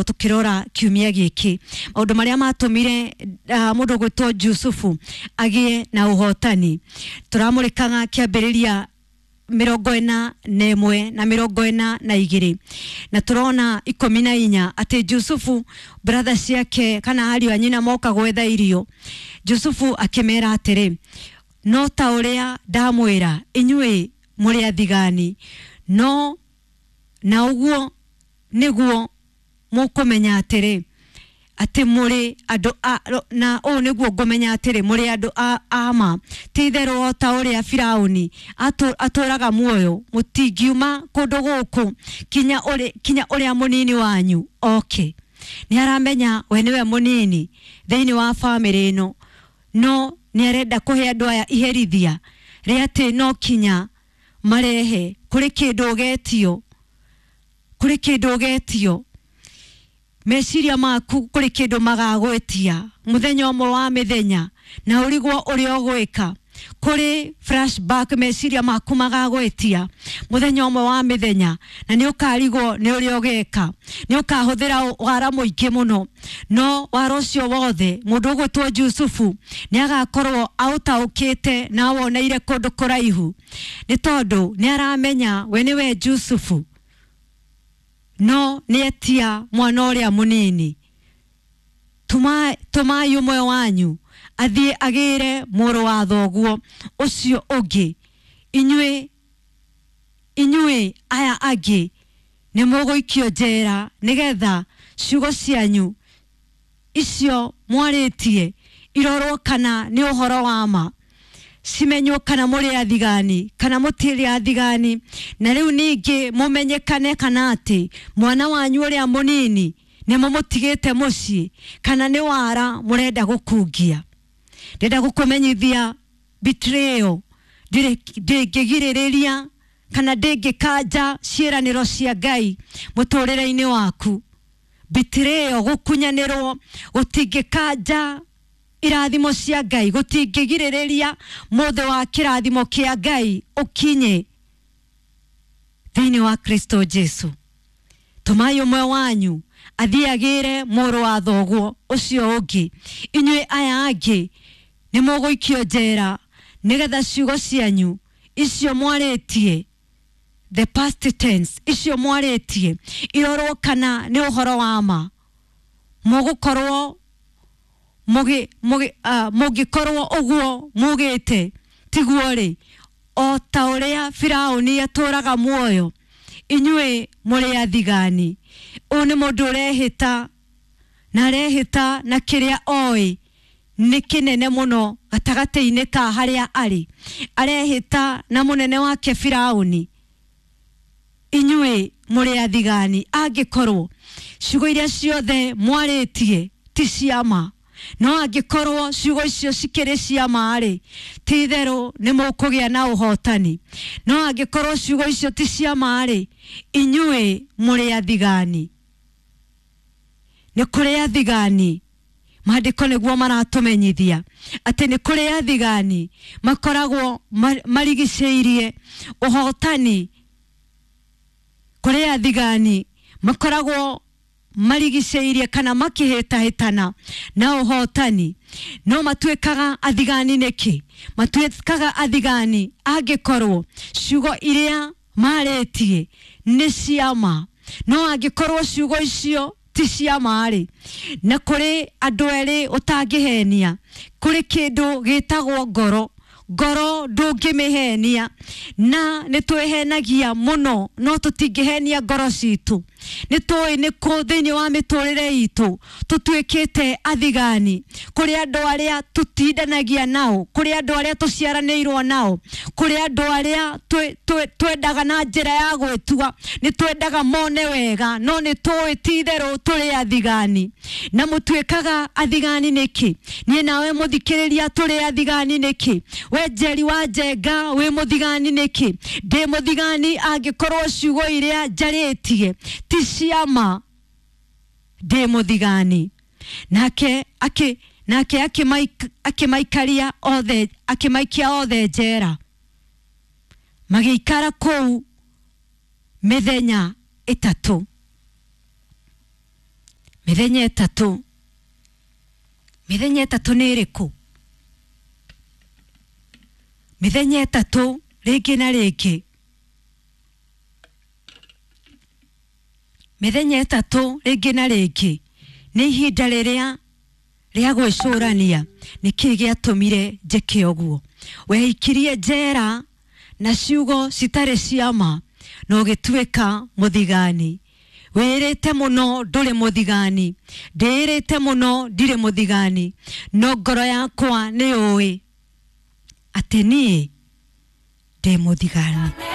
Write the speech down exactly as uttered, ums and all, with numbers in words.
Tukirora kiumia giki maundu maria matumire uh, mundu gwitwo Jusufu agie na uhotani, turamurikaga kiambiriria mirongo ina na ĩmwe na mirongo ina na igĩrĩ na turona ikũmi na inya atĩ Jusufu brother ciake kana ariũ a nyina moka gwetha irio. Jusufu akĩmera atĩrĩ, no ta ũrĩa ndamwĩra inyuĩ mũrĩ athigani, no na ũguo nĩguo mũkũmenya atĩrĩ atĩ mũrĩ andũ a, na ũũ nĩguo ngũmenya atĩrĩ mũrĩ andũ a, a ma. Ti itherũ o ta ũrĩa Firaũni atũraga muoyo, mũtingiuma kũndũ gũkũ kinya ũrĩ, kinya ũrĩa mũnini wanyu oke. Nĩ aramenya we nĩwe mũnini thĩinĩ wa bamĩrĩ ĩno, no nĩ arenda kũhe andũ aya iherithia rĩa atĩ no kinya marehe kũrĩ kĩndũ ũgetio, kũrĩ kĩndũ ũgetio meciria maku, kũrĩ kĩndũ magagwĩtia mũthenya ũmwe wa mĩthenya na ũrigwo ũrĩa ũgwĩka. Kũrĩ flashback meciria maku magagwĩtia mũthenya ũmwe wa mĩthenya na nĩ ũkarigwo nĩ ũrĩa ũgeka, nĩ ũkahũthĩra wara mũingĩ mũno, no wara ũcio wothe mũndũ ũgwĩtwo Jusufu nĩ agakorwo aũtaũkĩte na awoneire kũndũ kũraihu, nĩ tondũ nĩ aramenya we nĩwe Jusufu, no nĩ etia mwana ũrĩa mũnini. Tũmai ũmwe wanyu athiĩ agĩre mũrũ wa thoguo ũcio ũngĩ, inyuĩ inyuĩ aya angĩ nĩ mũgũikio njera nĩgetha ciugo cianyu icio mwarĩtie irorwo kana nĩ ũhoro wa ma, cimenywo kana mũrĩ athigani kana mũtirĩ athigani, na rĩu ningĩ mũmenyekane kana atĩ mwana wanyu ũrĩa mũnini nĩ mũmũtigĩte mũciĩ kana nĩ wara mũrenda gũkungia. Ndĩrenda gũkũmenyithia betrayal ndĩngĩgirĩrĩria kana ndĩngĩkanja ciĩranĩro cia Ngai mũtũrĩre-inĩ waku. Betrayal, gũkunyanĩrwo, gũtingĩkanja irathimo cia Ngai, gũtingĩgirĩrĩria mũthĩ wa kĩrathimo kĩa Ngai ũkinye thĩinĩ wa Kristo Jesu. Tũmai ũmwe wanyu athiĩ agĩre mũrũ wa thoguo ũcio ũngĩ, inyuĩ aya angĩ nĩ mũgũikio njera nĩgetha ciugo cianyu icio mwarĩtie, the past tense, icio mwarĩtie irorwo kana nĩ ũhoro wa ma. Mũgũkorwo mũgĩ mũgĩ uh, mũngĩkorwo ũguo mugĩte tiguo rĩ, o ta ũrĩa Firaũni atũraga muoyo, inyuĩ mũrĩ athigani. Ũyũ nĩ mũndũ ũrehĩta na arehĩta na kĩrĩa oĩ nĩ kĩnene mũno gatagatĩ-inĩ ka harĩa arĩ, arehĩta na mũnene wake Firaũni, inyuĩ mũrĩ athigani. Angĩkorwo ciugo iria ciothe mwarĩtie ti cia ma, no angĩkorwo ciugo icio cikĩrĩ cia ma rĩ, ti itherũ nĩ mũkũgĩa na ũhotani. No angĩkorwo ciugo icio ti cia ma rĩ, inyuĩ mũrĩ athigani. Nĩ kũrĩ athigani, maandĩko nĩguo maratũmenyithia atĩ nĩ kũrĩ athigani makoragwo marigicĩirie ũhotani. Kũrĩ athigani makoragwo marigicĩirie kana makĩhĩtahĩtana na ũhotani. No matuĩkaga athigani nĩkĩ? Matuĩkaga athigani angĩkorwo ciugo iria marĩtie nĩ cia ma, no angĩkorwo ciugo icio ti cia ma rĩ, na kũrĩ andũ erĩ ũtangĩhenia, kũrĩ kĩndũ gĩtagwo ngoro. Ngoro ndũngĩmĩhenia, na nĩ twĩhenagia mũno no tũtingĩhenia ngoro citũ. Nĩ tũĩ nĩ kũ thĩinĩ wa mĩtũrĩre itũ tũtuĩkĩte athigani. Kũrĩ andũ arĩa tũtindanagia nao, kũrĩ andũ arĩa tũciaranĩirwo nao, kũrĩ andũ arĩa twendaga na njĩra ya gwĩtua, nĩ twendaga mone wega, no nĩ tũĩ ti itherũ tũrĩ athigani. Na mũtuĩkaga athigani nĩkĩ? Niĩ nawe mũthikĩrĩria tũrĩ athigani nĩkĩ? We Njeri wa Njenga wĩ mũthigani nĩkĩ? Ndĩ mũthigani angĩkorwo ciugo iria njarĩtie ti cia ma, ndĩ mũthigani. Nake akĩ nake akĩmaikaria othe, akĩmaikia othe njera, magĩikara kũu mĩthenya ĩtatũ. Mĩthenya ĩtatũ, mĩthenya ĩtatũ nĩ ĩrĩkũ? Mĩthenya ĩtatũ rĩngĩ na rĩngĩ, mĩthenya ĩtatũ rĩngĩ na rĩngĩ nĩ ihinda rĩrĩa rĩa gwĩcũrania nĩkĩĩ gĩatũmire njĩke ũguo. Weikirie njera na ciugo citarĩ cia ma na ũgĩtuĩka mũthigani. Wĩrĩte mũno ndũrĩ mũthigani, ndĩĩrĩte mũno ndirĩ mũthigani, no ngoro yakwa nĩ yũĩ atĩ niĩ ndĩ mũthigani.